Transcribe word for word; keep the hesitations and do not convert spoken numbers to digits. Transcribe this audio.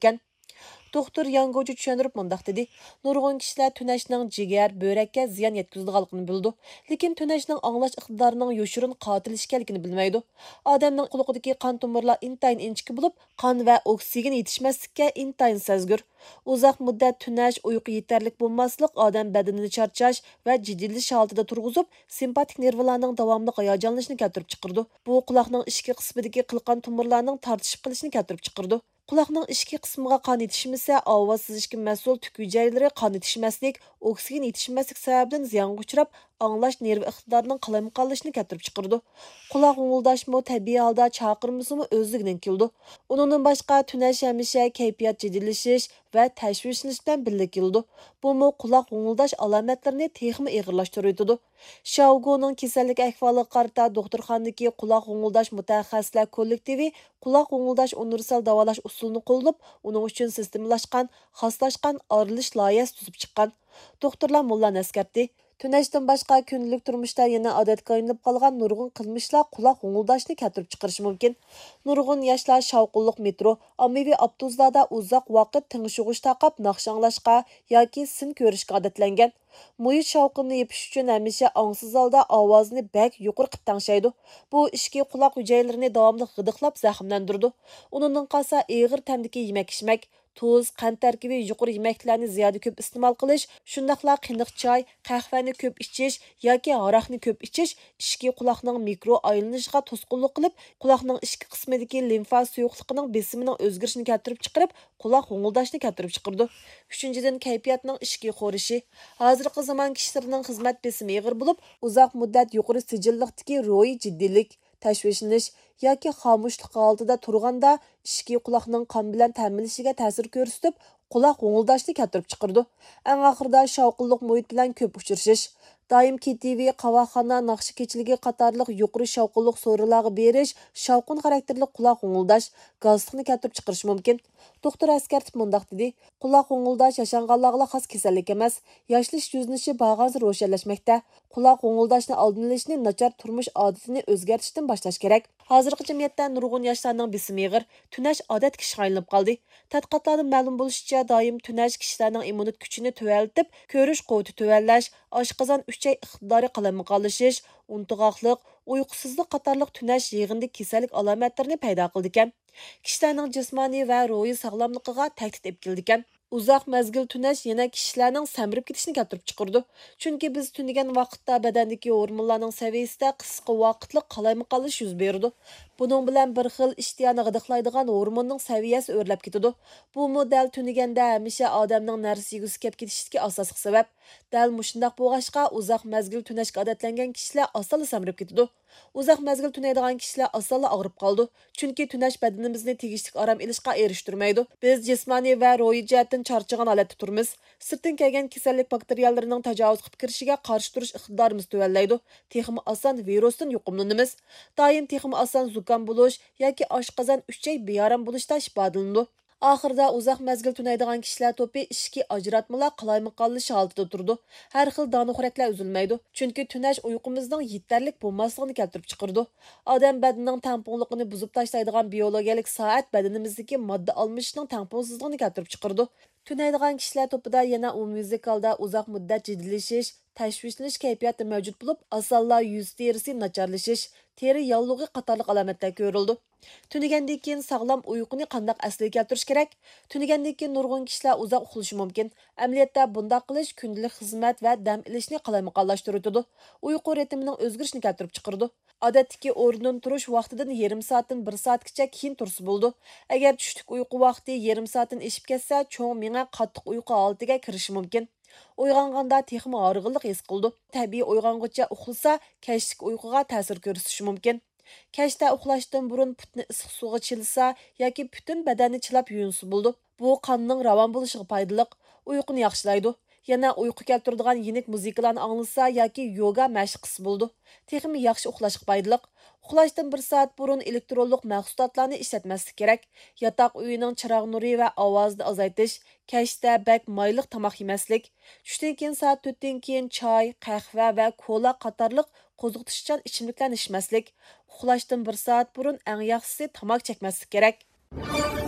ئىكەن. دوختۇر ياڭ گوچى چۈشەندۈرۈپ مۇنداق دېدى: نۇرغۇن كىشىلەر تۈنەشنىڭ جىگەر، بۆرەككە زىيان يەتكۈزىدىغانلىقىنى بىلىدۇ، لېكىن تۈنەشنىڭ ئاڭلاش ئىقتىدارىنىڭ يوشۇرۇن قاتىل ئىكەنلىكىنى بىلمەيدۇ. ئادەمنىڭ قۇلىقىدىكى قان تومۇرلار ئىنتايىن ئىنچىكە بولۇپ، قان ۋە ئوكسىگېن يېتىشمەسلىككە ئىنتايىن سەزگۈر. ئۇزاق مۇددەت تۈنەش، ئۇيقۇ يېتەرلىك بولماسلىق ئادەم بەدىنىنى چارچاش ۋە جىددىيلىشىش ھالىتىدە تۇرغۇزۇپ، سىمپاتىك نېرۋىلارنىڭ داۋاملىق ھاياجانلىنىشىنى كەلتۈرۈپ چىقىرىدۇ. بۇ قۇلاقنىڭ ئىچكى قىسمىدىكى قىلقان تومۇرلارنىڭ تارتىشىپ قېلىشىنى كەلتۈرۈپ چىقىرىدۇ. قۇلاقنىڭ ئىچكى قىسمىغا قان يېتىشمىسە، ئاۋاز سېزىشكە مەسئۇل تۈك ھۈجەيرىلىرى قان يېتىشمەسلىك، ئوكسىگېن يېتىشمەسلىك سەۋەبىدىن زىيانغا ئۇچراپ، ئاڭلاش نېرۋا ئىقتىدارىنىڭ قالايمىقانلىشىشىنى كەلتۈرۈپ چىقىرىدۇ. قۇلاق غوڭۇلداشمۇ تەبىئىي ھالدا چاقىرمىسىمۇ ئۆزلۈكىدىن كېلىدۇ. ئۇنىڭدىن باشقا، تۈنەش ھەمىشە كەيپىيات جىددىيلىشىش ۋە تەشۋىشلىنىش بىلەن بىللە كېلىدۇ. بۇمۇ قۇلاق غوڭۇلداش ئالامەتلىرىنى تېخىمۇ ئېغىرلاشتۇرۇۋېتىدۇ. شياۋگونىڭ كېسەللىك ئەھۋالىغا قارىتا دوختۇرخانىدىكى قۇلاق غوڭۇلداش مۇتەخەسسىسلەر كوللېكتىۋى قۇلاق غوڭۇلداش ئۇنىۋېرسال داۋالاش ئۇسۇلىنى قوللىنىپ، ئۇنىڭ ئۈچۈن سىستېمىلاشقان، خاسلاشقان ئارىلىشىش لايىھەسى تۈزۈپ چىققان. دوختۇرلار مۇنۇلارنى ئەسكەرتتى: تۈنەشتىن باشقا، كۈندىلىك تۇرمۇشتا يەنە ئادەتكە ئايلىنىپ قالغان نۇرغۇن قىلمىشلار قۇلاق غوڭۇلداشنى كەلتۈرۈپ چىقىرىشى مۇمكىن. نۇرغۇن ياشلار شاۋقۇنلۇق مېترو، ئاممىۋى ئاپتوبۇسلاردا ئۇزاق ۋاقىت تىڭشىغۇچ تاقاپ ناخشا ئاڭلاشقا ياكى سىن كۆرۈشكە ئادەتلەنگەن. مۇھىت شاۋقۇننى يېپىش ئۈچۈن ھەمىشە ئاڭسىز ھالدا ئاۋازىنى بەك يۇقىرى قىلىپ تەڭشەيدۇ. بۇ ئىچكى قۇلاق ھۈجەيرىلىرىنى داۋاملىق غىدىقلاپ زەخىملەندۈرىدۇ. ئۇنىڭدىن قالسا، ئېغىر تەمدىكى يېمەك-ئىچمەك، تۇز، قەنت تەركىبى يۇقىرى يېمەكلىكلەرنى زىيادە كۆپ ئىستېمال قىلىش، شۇنداقلا قېنىق چاي، قەھۋەنى كۆپ ئىچىش ياكى ھاراقنى كۆپ ئىچىش ئىچكى قۇلاقنىڭ مىكرو ئايلىنىشىغا توسقۇنلۇق قىلىپ، قۇلاقنىڭ ئىچكى قىسمىدىكى لىمفا سۇيۇقلۇقىنىڭ بېسىمىنىڭ ئۆزگىرىشىنى كەلتۈرۈپ چىقىرىپ، قۇلاق غوڭۇلداشنى كەلتۈرۈپ چىقىرىدۇ. ئۈچىنچىدىن، كەيپىياتنىڭ ئىچكى خورىشى. ھازىرقى زامان كىشىلىرىنىڭ خىزمەت بېسىمى ئېغىر بولۇپ، ئۇزاق مۇددەت يۇقىرى سىجىللىقتىكى روھىي جىددىيلىك، تەشۋىشلىنىش ياكى خامۇشلۇق ھالىتىدە تۇرغاندا، ئىچكى قۇلاقنىڭ قان بىلەن تەمىنلىشىگە تەسىر كۆرسىتىپ، قۇلاق غوڭۇلداشنى كەلتۈرۈپ چىقىرىدۇ. ئەڭ ئاخىرىدا، شاۋقۇنلۇق مۇھىت بىلەن كۆپ ئۇچرىشىش. دائىم كېتىۋى، قاۋاقخانا، ناخشا كېچىلىكى قاتارلىق يۇقىرى شاۋقۇنلۇق سورۇنلارغا بېرىش، شاۋقۇن خاراكتېرلىك قۇلاق غوڭۇلداش گاستىكنى كەلتۈرۈپ چىقىرىشى مۇمكىن. دوختۇر ئەسكەرتىپ مۇنداق دېدى: قۇلاق غوڭۇلداش ياشانغانلارغىلا خاس كېسەللىك ئەمەس، ياشىنىش يۈزلىنىشى بارغانسېرى روشەنلەشمەكتە. قۇلاق غوڭۇلداشنى ئالدىنى ئېلىشنى ناچار تۇرمۇش ئادىتىنى ئۆزگەرتىشتىن باشلاش كېرەك. ھازىرقى جەمئىيەتتە نۇرغۇن ياشلارنىڭ بېسىمى ئېغىر، تۈنەش ئادەتتىكى ئىشقا ئايلىنىپ قالدى. تەتقىقاتلاردىن مەلۇم بولۇشىچە، دائىم تۈنەش كىشىلەرنىڭ ئىممۇنىتېت كۈچىنى تۆۋەنلىتىپ، كۆرۈش قۇۋۋىتى تۆۋەنلەش، ئاشقازان ئۈچەي ئىقتىدارى قالايمىقانلىشىش، ئۇنتۇغاقلىق، ئۇيقۇسىزلىق قاتارلىق تۈنەش يىغىندىكى كېسەللىك ئالامەتلىرىنى پەيدا قىلىدىكەن. كىشىلەرنىڭ جىسمانىي ۋە روھىي ساغلاملىقىغا تەھدىت ئېلىپ كېلىدىكەن. ئۇزاق مەزگىل تۈنەش يەنە كىشىلەرنىڭ سەمرىپ كېتىشىنى كەلتۈرۈپ چىقىرىدۇ. چۈنكى بىز تۈنىگەن ۋاقىتتا بەدەندىكى ھورمونلارنىڭ سەۋىيەسىدە قىسقا ۋاقىتلىق قالايمىقانلىشىش يۈز بېرىدۇ. بۇنىڭ بىلەن بىر خىل ئىشتىيانى غىدىقلايدىغان ھورموننىڭ سەۋىيەسى ئۆرلەپ كېتىدۇ. بۇمۇ دەل تۈنىگەندە ھەمىشە ئادەمنىڭ نەرسە يېگۈسى كەپ كېتىشىدىكى ئاساسلىق سەۋەب. دەل مۇشۇنداق بولغاچقا، ئۇزاق مەزگىل تۈنەشكە ئادەتلەنگەن كىشىلەر ئاسانلا سەمرىپ كېتىدۇ. ئۇزاق مەزگىل تۈنەيدىغان كىشىلەر ئاسانلا ئاغرىپ قالىدۇ. چۈنكى تۈنەش بەدىنىمىزنى تېگىشلىك ئارام ئېلىشقا ئېرىشتۈرمەيدۇ. بىز جىسمانىي ۋە روھىي جەھەتتىن چارچىغان ھالەتتە تۇرىمىز. سىرتتىن كەلگەن كېسەللىك باكتېرىيەلىرىنىڭ تاجاۋۇز قىلىپ كىرىشىگە قارشى تۇرۇش ئىقتىدارىمىز تۆۋەنلەيدۇ. تېخىمۇ ئاسان ۋىرۇستىن يۇقۇملىنىمىز. دائىم تېخىمۇ ئاسان زۇكام بولۇش ياكى ئاشقازان ئۈچەي بىئارام بولۇشتا ئىپادىلىنىدۇ. ئاخىرىدا، ئۇزاق مەزگىل تۈنەيدىغان كىشىلەر توپى ئىچكى ئاجراتمىلار قالايمىقانلىشىش ھالىتىدە تۇرىدۇ. ھەر خىل دانىخورەكلەر ئۈزۈلمەيدۇ، چۈنكى تۈنەش ئۇيقۇمىزنىڭ يېتەرلىك بولماسلىقىنى كەلتۈرۈپ چىقىرىدۇ. ئادەم بەدىنىنىڭ تەڭپۇڭلۇقىنى بۇزۇپ تاشلايدىغان بىيولوگىيەلىك سائەت بەدىنىمىزدىكى ماددا ئالمىشىشنىڭ تەڭپۇڭسىزلىقىنى كەلتۈرۈپ چىقىرىدۇ. تۈنەيدىغان كىشىلەر توپىدا يەنە ئومۇميۈزلۈك ھالدا ئۇزاق مۇددەت جىددىيلىشىش، تەشۋىشلىنىش كەيپىياتى مەۋجۇت بولۇپ، ئاسانلا يۈز تېرىسى ناچارلىشىش، تېرە ياللۇغى قاتارلىق ئالامەتلەر كۆرۈلىدۇ. تۈنىگەندىن كېيىن ساغلام ئۇيقۇنى قانداق ئەسلىگە كەلتۈرۈش كېرەك؟ تۈنىگەندىن كېيىن نۇرغۇن كىشىلەر ئۇزاق ئۇخلىشى مۇمكىن. ئەمەلىيەتتە بۇنداق قىلىش كۈندىلىك خىزمەت ۋە دەم ئېلىشنى قالايمىقانلاشتۇرۇۋېتىدۇ. ئۇيقۇ رىتىمىنىڭ ئۆزگىرىشىنى كەلتۈرۈپ چىقىرىدۇ. ئادەتتىكى ئورنىدىن تۇرۇش ۋاقتىدىن يېرىم سائەتتىن بىر سائەتكىچە كېيىن تۇرسا بولىدۇ. ئەگەر چۈشلۈك ئۇيقۇ ۋاقتى يېرىم سائەتتىن ئېشىپ كەتسە، چوڭ مېڭە قاتتىق ئۇيقۇ ھالىتىگە كىرىشى مۇمكىن. ئويغانغاندا تېخىمۇ ھارغىنلىق ھېس قىلىدۇ. تەبىئىي ئويغانغۇچە ئۇخلىسا، كەچلىك ئۇيقۇغا تەسىر كۆرسىتىشى مۇمكىن. كەچتە ئۇخلاشتىن بۇرۇن پۇتنى ئىسسىق سۇغا چىلىسا ياكى پۈتۈن بەدەننى چىلاپ يۇيۇنسا بولىدۇ. بۇ قاننىڭ راۋان بولۇشىغا پايدىلىق، ئۇيقۇنى ياخشىلايدۇ. يەنە ئۇيقۇ كەلتۈرىدىغان يېنىك مۇزىكىلارنى ئاڭلىسا ياكى يوگا مەشىق قىلسا بولىدۇ. تېخىمۇ ياخشى ئۇخلاشقا پايدىلىق. ئۇخلاشتىن بىر سائەت بۇرۇن ئېلېكترونلۇق مەھسۇلاتلارنى ئىشلەتمەسلىك كېرەك. ياتاق ئۆيىنىڭ چىراغ نۇرى ۋە ئاۋازىنى ئازايتىش، كەچتە بەك مايلىق تاماق يېمەسلىك، چۈشتىن كېيىن سائەت تۆتتىن كېيىن چاي، قەھۋە ۋە كولا قاتارلىق قوزغىتىشچان ئىچىملىكلەرنى ئىچمەسلىك، ئۇخلاشتىن بىر سائەت بۇرۇن ئەڭ ياخشىسى تاماكا چەكمەسلىك كېرەك.